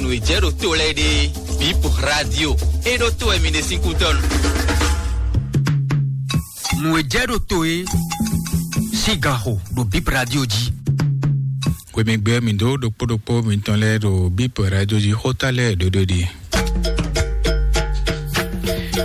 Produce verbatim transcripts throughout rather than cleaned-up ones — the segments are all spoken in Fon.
Nǔ e jɛ ɖo to lɛ́ɛ ɖe, Bip Radio. É ɖó to wɛ mi ɖe sín kútɔ́nu. Nǔ e jɛ ɖo to é, sín ganxo ɖo Bip Radio jí. Hwemɛgbɛ mi ɖó ɖokpó ɖokpó mitɔn lɛ́ɛ ɖo Bip Radio jí xóta lɛ́ɛ ɖóɖó ɖi.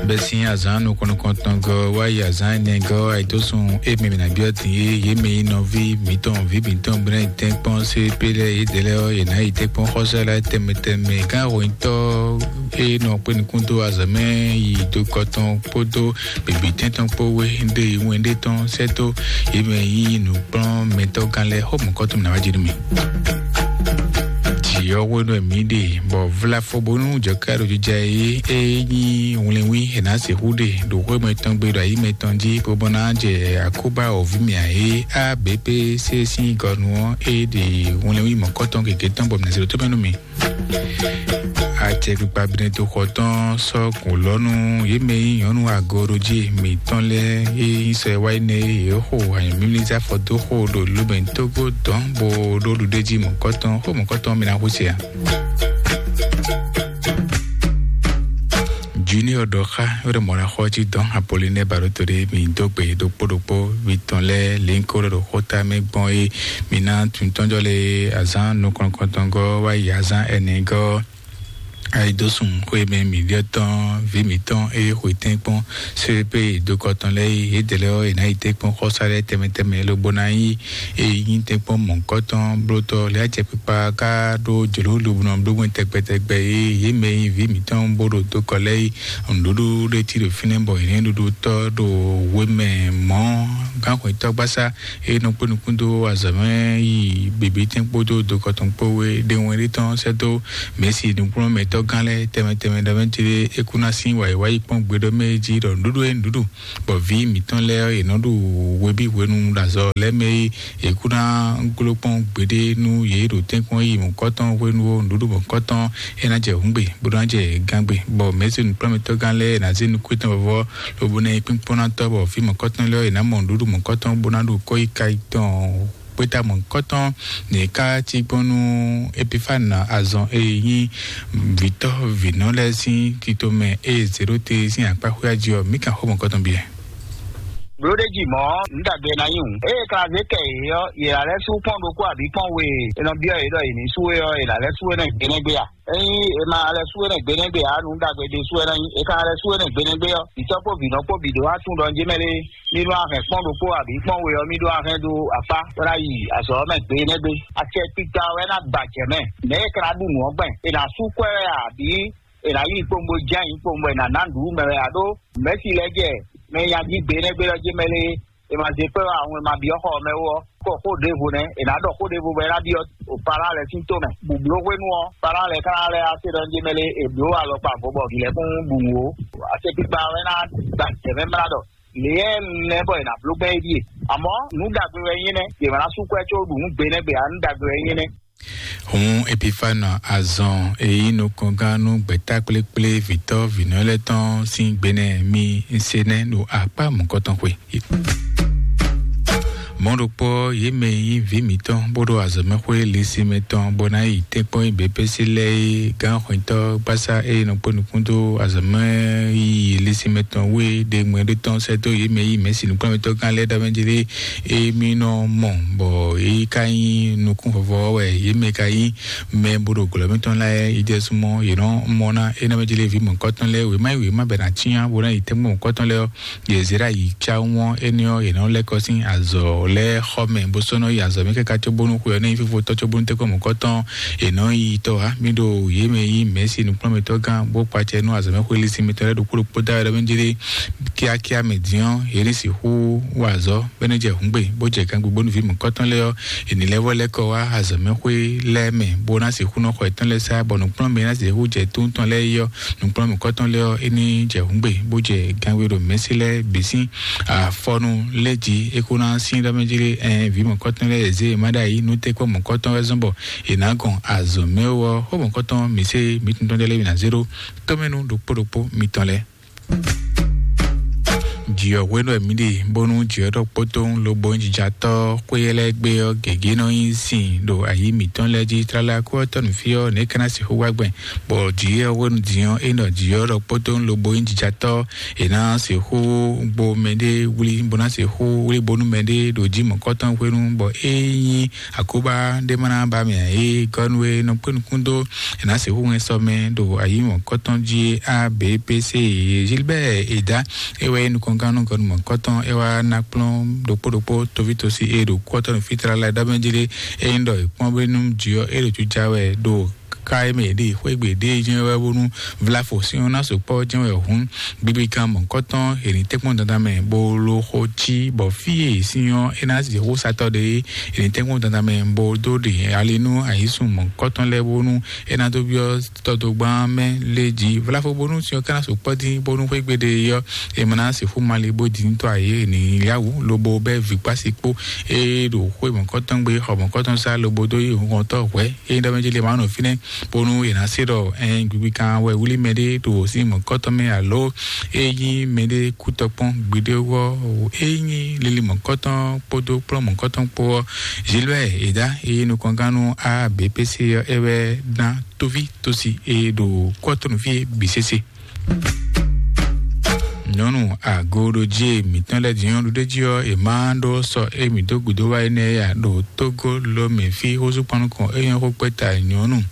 Bɛ́ sín azǎn nukɔn nukɔntɔn gɔ́ wá yi azǎn ɛnɛ gɔ́ ayǐdósun e mɛ mi ná byɔ́ din é, yě mɛ nyí nɔví mǐtɔn, vǐ mǐtɔn, bó ná yi tɛ́nkpɔ́n C P lɛ́ɛ, yědɛɛ lɛ́ɛ ɔ́, yě ná yi tɛ́nkpɔ́n xɔ́sá lɛ́ɛ tɛnmɛ tɛnmɛ. Gán hwɛnyitɔ́ e nɔ kpé nukún dó azɔ̌ mɛ yi do kɔ tɔn kpódó bǐbítɛ́n tɔn kpó wé ɖe wɛn ɖé tɔn sɛ́ dó yě mɛ nyí nǔkplɔ́nmɛtɔ́gán lɛ́ɛ xó mɔ̌kɔ́tɔn ná wá jí nú mì. Jǐ ɔ́ hwenu e mǐ ɖe bɔ vlafo bónú jɔ̌ká ɖo jija é, é nyí wlɛnwí è nǎ sixú ɖe ɖo xwé mɛtɔn gbe ɖo ayi mɛtɔn jí, bó bó ná jɛ akóbá wɔ̌ví mɛ ǎ é. A B P C sín gɔnu ɔ́, é ɖe wlɛnwí mɔ̌kɔ́tɔn gěgé tɔn bɔ mǐ ná se ɖo tó mɛ nú mì. Acɛkpikpa Benɛto xɔ tɔn sɔ́ kùn lɔ́ nú yě mɛ e nyí nyɔ̌nu agorojí mǐtɔn lɛ́ɛ e nyí sɔ e wá yi nɛ́ e yě xo anyǔmímlízá fɔ dó xo ɖo Lomɛtógó dɔn bó ɖó ɖuɖéjí mɔ̌kɔtɔn xó mɔ̌kɔtɔn mi ná xwísɛ ǎ. Junior ɖɔ xá wɛ ɖe mɔ̌ ná xɔ jí dɔn Apolinɛ Baɖoto ɖé mi dó gbe ɖokpó ɖokpó mi tɔn lɛ́ɛ lěnkó ɖo xóta mɛ gbɔn é. Mi ná tuntɔ́njɔ lé azán nukɔn kɔntɔngɔ́ wá yi azán ɛnɛgɔ́. Ayidósun xwé mɛ mǐɖyɔ́ tɔn vǐ mǐtɔn e xwe tɛ́nkpɔ́n sérépé dokɔ tɔn lɛ́ɛ yi yědɛɛ lɛ́ɛ ɔ́, è nǎ yi tɛ́nkpɔ́n xɔ́sá lɛ́ɛ tɛnmɛ tɛnmɛ lobo ná yi e nyí tɛ́nkpɔ́n mɔ̌hunkɔtɔn blótɔ́ lɛ́ɛ acɛkpikpa ká ɖó jlǒ lobo nɔ bló gbɛn tɛgbɛ tɛgbɛ e yě mɛ e nyí vǐ mǐtɔn bó ɖo dokɔ lɛ́ɛ yi nǔɖuɖu ɖé cí ɖo fínɛ́ bɔ è nǐ ɖuɖu tɔ́ ɖo hwemɛ mɔ̌ gánxwetɔ́gbásá e nɔ kpé nukún dó azɔ̌ mɛ yi bǐbítɛ́n kpódó dokɔ tɔn kpó wé ɖe wɛn ɖé tɔn sɛ́ dó mɛ̌si nǔkplɔ́nmɛtɔ́ gán lɛ́ɛ tɛnmɛ tɛnmɛ ɖɔ mɛ jí é kú ná sín wǎyíwáyí kpɔ́n gbeɖɔ mɛ jí ɖɔ nǔɖuɖu e nǔɖuɖu bɔ vǐ mǐtɔn lɛ́ɛ ɔ́, yě nɔ ɖu hweví hwenu ɖo azɔ̌ lɛ́ɛ mɛ e yě kú ná gló kpɔ́n gbeɖé nú yě ɖo tɛ́nkpɔ́n yi mɔ̌kɔtɔn hwenu ó, nǔɖuɖu mɔ̌kɔtɔn é ná jɛ hǔngbe bó ná jɛ gángbe, bɔ mɛ̌si nǔkplɔ́nmɛtɔ́ gán lɛ́ɛ ná zé nukún tɔn vɔvɔ lobo ná nyí kpínkpɔ́nnatɔ́, bɔ vǐ mɔ̌kɔtɔn lɛ́ɛ ɔ́, yě ná mɔ nǔɖuɖu mɔ̌kɔtɔn bó ná ɖu kɔ́yíká tɔn. Kpéta mɔ̌kɔtɔn ní ká cí gbɔn nú Epifane azɔn e nyí vǐtɔ́ vǐnɔ lɛ́ɛ sín tito mɛ e zěɖóte sín akpá xwé ají ɔ́, mǐ kan xó mɔ̌kɔtɔn biɛ. Blóɖéjì mɔ̌, nǔ ɖagbe ná nyí hǔn. Ée Klazé kɛ yě ɔ́, yě ná lɛ́ sú kpɔ́n ɖokpó abǐ kpɔ́n we e è nɔ byɔ́ yě ɖɔ yě ní sú é ɔ́, è nǎ lɛ́ sú énɛ́ gbe nɛ́ gbe a? Ényí è ma lɛ́ sú énɛ́ gbe nɛ́ gbe ǎ, nǔ ɖagbe ɖésú wɛ ná nyí. È ka lɛ́ sú énɛ́ gbe nɛ́ gbe ɔ́, vǐtɔ́ kpó vǐnɔ kpó bǐ ɖó wá tunwun ɖɔ njí mɛ lé. Mi ɖó ahɛn kpɔ́n ɖokpó abǐ kpɔ́n we ɔ́, mi ɖó ahɛn ɖó akpá bó ná yi azɔ̌ ɔ́ mɛ gbe nɛ́ gbe. Acɛkpikpa wɛ ná gbajɛ mɛ. Mɛ̌ e ka ná ɖu nǔ ɔ́ gbɛn? È nǎ sú kwɛ́ wɛ a, abǐ è nǎ yí kpowun bó jɛ ayǐ kpowun bɔ è nǎ ná nǔɖuɖu mɛ wɛ a? Ɖó mɛ̌si lɛ́ɛ jɛ mɛ e nyají gbe nɛ́ gbe ɔ́ jé mɛ lé. È ma zé kpɛ́ wá ahun e ma byɔ́ xɔ ɔ́ mɛ ó ɔ́, kɔ xó ɖěvo nɛ́. È nǎ ɖɔ xó ɖěvo bɔ é ná byɔ́ o Palán lɛ́ɛ sín tó mɛ. Bǔbló hwenu ɔ́, Palán lɛ́ɛ ka ná lɛ́ wá se ɖɔ njí mɛ lé è blǒ alɔkpa vo bɔ vǐ lɛ́ɛ kún ɖu nǔ ó. Acɛkpikpa wɛ ná gba jɛ mɛ mlá ɖɔ lě e nɛ́ bɔ è nǎ bló gbɛn é ɖíe. Amɔ̌ nǔ ɖagbe wɛ nyí nɛ́, yě ma ná sú kwɛ́ có ɖu nǔ gbe nɛ́ gbe ǎ, nǔ ɖagbe wɛ nyí nɛ́. Hǔn Epifane azɔn e nyí nukɔngán nú gbɛ̌takplékplé vǐtɔ́ vǐnɔ lɛ́ɛ tɔn sín gbenɛ mi se nɛ́ ɖo akpá mɔ̌kɔtɔn xwe. Mɔ̌ ɖokpó ɔ́, yě mɛ e nyí vǐ mǐtɔn bó ɖo azɔ̌mɛxwé Lisime tɔn bó ná yi tɛ́nkpɔ́n yi běpési lɛ́ɛ é, gán xwɛntɔ́ gbásá e nɔ kpó nukún dó azɔ̌mɛ yi Lisime tɔn wú é ɖe ŋmɛ ɖé tɔn sɛ́ dó yě mɛ e nyí mɛ̌si nǔkplɔ́nmɛtɔ́ gán lɛ́ɛ ɖ'amɛ jí lé. Emi nɔ mɔ bɔ é ka nyí nukún vɔvɔ wɛ yě mɛ ka nyí mɛ bó ɖo glɔ̌ mǐtɔn lɛ́ɛ yi jɛ súnmọ́ yě nɔ mɔ ná é ná mɛ jí lé vǐ mɔ̌kɔtɔn lɛ́ɛ wěma yi wěma bɛ ná cyán bó ná yi tɛ́nkpɔ́n mɔ̌kɔtɔn lɛ́ɛ ɔ́, yě zé ɖo ayǐ cá wɔn énɛ́ ɔ́, yě nɔ lɛ́ kɔ sín azɔ̌ lɛ́ɛ xɔ mɛ bó sɔ́ nɔ yi azɔ̌ mɛ káká cóbónú xwe ɔ́ ná nyí fífó tɔ́ cóbónú tɛ́nkpɔ́n mɔ̌kɔtɔn. È nɔ yi tɔ́ wá mì ɖo yě mɛ yí mɛ̌si nǔkplɔ́nmɛtɔ́ gán bó kpacɛ nú azɔ̌ mɛ xwe lísí mǐtɔn lɛ́ɛ ɖokpó ɖokpó dá wɛ ɖɔ mɛ jí lé kíákíá mɛ dín ɔ́, yě ní sixú wa azɔ̌ bɔ é ná jɛ hǔngbe, bó jɛ gangbé bónú vǐ mɔ̌kɔtɔn lɛ́ɛ ɔ́, è nǐ lɛ́ vɔ lɛ́ kɔ wá azɔ̌mɛxwé lɛ́ɛ mɛ, bó ná sixú nɔ xɔ yětɔn lɛ́ɛ sá, bɔ nǔkplɔ́nmɛ e ná sixú jɛ tó tɔn lɛ́ɛ yi ɔ́, nǔkplɔ́nmɛ mɔ̌kɔtɔn lɛ́ɛ ɔ́, é ní jɛ hǔngbe, bó jɛ gangbé ɖo mɛ̌si lɛ́ɛ bǐ sín afɔnu lɛ́ɛ jí, é kó ná sín ɖɔ mɛ jí lé, ɛn vǐ mɔ̌kɔtɔn lɛ́ɛ e zě è má ɖ'ayǐ nú tɛ́nkpɔ́n mɔ̌kɔtɔn wɛ zɔ́n bɔ è nǎ gɔn azɔ̌ mɛ ó ɔ́, xó mɔ̌kɔtɔn mǐ se mǐ tɔn tɔn lɛ́ɛ mǐ ná zé ɖó tɔ́mɛnu ɖokpó ɖokpó mitɔn lɛ́ɛ. Jǐ ɔ́ hwenu wɛ mǐ ɖe, bónú jǐ ɔ́ ɖɔ kpótó lobo nyí jijatɔ́ xwé lɛ́ɛ gbé ɔ́, gěgé nɔ nyi sin ɖo ayǐ mǐtɔn lɛ́ɛ jí. Tlala kú ɔ́ tɔ́ nǔ fí ɔ́, nɛ̌ ka ná sixú wá gbɛn, bɔ jǐ ɔ́ hwenu din ɔ́, é nɔ jǐ ɔ́ ɖɔ kpótó lobo nyí jijatɔ́, è nǎ sixú gbo mɛɖé wlí, bó ná sixú wlí bónú mɛɖé ɖo jí mɔ̌kɔtɔn hwenu, bɔ é nyí akóbá ɖé ma ná ba mɛ ǎ. É gɔ́ nú é nɔ kpé nukún dó, è nǎ sixú hɛn sɔ mɛ ɖo ayǐ mɔ̌kɔtɔn jí. A B P C Gilbert Eda, é wɛ nyí nukɔngannú gɔnumɔkɔtɔn, é wá ná kplɔ́n ɖokpó ɖokpó toví tosi e ɖo kú ɔ́ tɔn ɖo fí tlala ɖɔ mɛ jí lé. É nyí ɖɔ è kpɔ́n bónú jǐ ɔ́ é ɖo jija wɛ ɖo ká e mɛ è ɖe xwégbe ɖé jɛ́n wɛ bónú vlafo sín ɔ́ ná sukpɔ́ jɛ́n wɛ hǔn, gbigbikan mɔ̌kɔtɔn è nǐ tɛ́nkpɔ́n dandan mɛ bó ló xo cí, bɔ fí e è sín ɔ́ é ná zǐ xó satɔ́ ɖé, è nǐ tɛ́nkpɔ́n dandan mɛ bó dó ɖe ali nú ayǐsun mɔ̌kɔtɔn lɛ́ɛ bónú é ná dó byɔ́ tɔdogban mɛ lé jí vlafo bónú sin ɔ́ ka ná sukpɔ́ dín bónú xwégbe ɖé ɔ́, è ma ná sixú mali bó dín tɔ́ ayé ní yáwó lobo bɛ́ vǐkpási kpó. É ɖo xwé mɔ̌kɔtɔn gbe xɔ mɔ̌kɔtɔn sá lobo dó yi hɔntɔ́ hwɛ̌ é ɖɔ mɛ jí lě ma nɔ fínɛ́, bónú è nǎ se ɖɔ ɛn gbigbikan wɛ wlí mɛɖé ɖo sí mɔ̌kɔtɔn mɛ alo é nyí mɛɖé kú tɔkpɔn gbeɖé ɔ́, é nyí lili mɔ̌kɔtɔn kpódó kplɔ́n mɔ̌kɔtɔn kpó ɔ́, Gilbert Eda é nyí nukɔngannú A B P C ɔ́ é wɛ ná tóví tósi é ɖo kɔ́tɔnúfí bǐ sésé. Nyɔnu agoɖojí e mǐtɔn lɛ́ɛ din ɔ́ ɖuɖéjí ɔ́, è ma ɖó sɔ émí dó gǔdo wá énɛ́ ya ɖo Tógó Lomɛ fí xózúkpɔ́nukɔn é nyɔ́ xó kpɛ́ta nyɔnu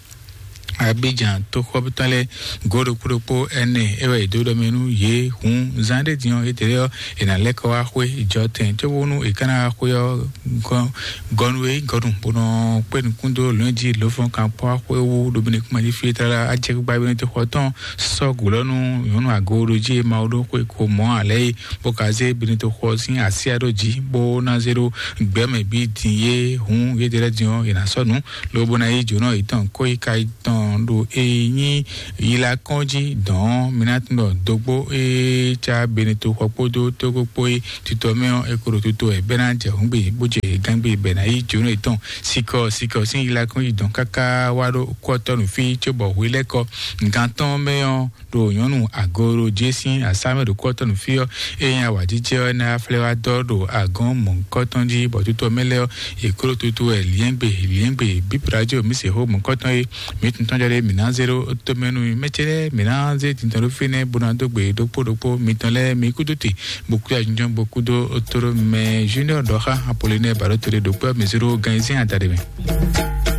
Abidjan tóxɔ́tɔ́ lɛ́ɛ gǒ ɖokpó ɖokpó ɛnɛ é wɛ è dó ɖɔ mɛ nú yě. Hǔn zán ɖé din ɔ́, étɛ́lɛ́ ɔ́, è nǎ lɛ́ kɔ wá xwé ìjɔ tɛn cóbónú è ká ná wá xwé ɔ́ gɔ́ gɔnu e gɔnu bó nɔ kpé nukún dó lɔ̌n jí lǒfɔn kan kpó axwé wú ɖo bene kúma jí fí tlala ajɛ gbígbá bene tó xɔ tɔn sɔ́ gǔ lɔ nú nyɔ̌nu agoɖojí e Mawu ɖó xwé ko mɔ̌ alɛ é, bó ka zé bene tó xɔ sín asyá ɖó jí bó ná zé ɖó gbɛ̌mɛ bí din yé. Hǔn yédɛ́ lɛ́ɛ din ɔ́, è nǎ sɔ́ nǔ lobo ná yí jǒnɔ yětɔn kó yi ka tɔn ɖo e nyí yila kɔn jí dɔn mi ná tunɔ dogbo e ca bene to xɔ kpódó tógó kpó é tutɔ mɛ ɔ́, e ko ɖo tuto wɛ bɛ ná jɛ hǔngbe bó jɛ gángbe bɛ ná yí jónú yětɔn sikɔ sikɔ sín yila kɔn jí dɔn káká wá ɖó kɔtɔnu fí cóbɔ hwe lɛ́ kɔ gantɔn mɛ ɔ́ ɖo nyɔnu agoro jésín asámɛ ɖo kɔtɔnu fí ɔ́. Eye awǎjijɛ ɔ́ ná flɛ́ wá dɔ ɖo agɔn mɔ̌kɔtɔn jí bɔ tutɔ mɛ lɛ́ ɔ́, e ko ɖo tuto wɛ liɛ́ngbe liɛ́ngbe bíbradio mi se xó mɔ̌kɔtɔn é. Mi tuntun jɔ ɖe mi ná zé ɖó tomɛnu mɛ ce lɛ́ɛ mi ná zé tintɔn ɖó fínɛ́ bó ná dó gbe ɖokpó ɖokpó mitɔn lɛ́ɛ mi kúdó te bó kú ajínjɔ́n bó kúdó tóɖó mɛ junior dɔxa apolinaire baɖó tóɖé ɖokpó mi zé ɖó gan yín sín adaɖe mɛ.